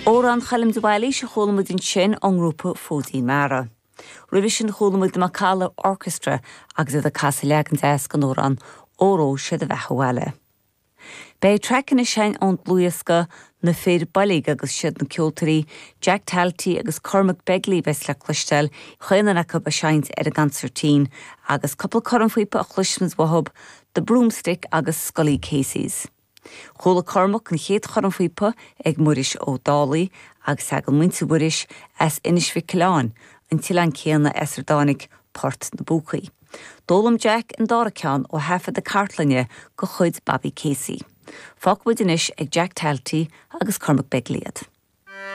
Amhrán Choilm de Bhailís a chuala muid ansin ón ngrúpa Fóidín Mara. Roimhe sin chuala muid The Macalla Orchestra agus iad ag casadh leagan deas den amhrán Óró Sé do Bheatha 'Bhaile. Beidh traic anois againn ón dlúthdhiosca Na Fir Boilg agus siad na ceoltóirí Jack Talty agus Cormac Begley a bheas le cloisteáil, chaon duine acu ag seinnt ar an gconsairtín agus cúpla cornphíopa a chloisfimid uathu, The Broomstick agus Scully Casey's. Chuala Cormac an chéad chornphíopa ag Muiris Ó Dálaigh agus tagann muintir Mhuiris as Inis Mhic Coileáin, an t-oileán céanna as ar dtáinig Port na bPúcaí. D'fhoghlaim Jack an dara ceann ó thaifeadadh cartlainne de chuid Bobby Casey. Fágfaidh muid anois ag Jack Talty agus Cormac Begley iad.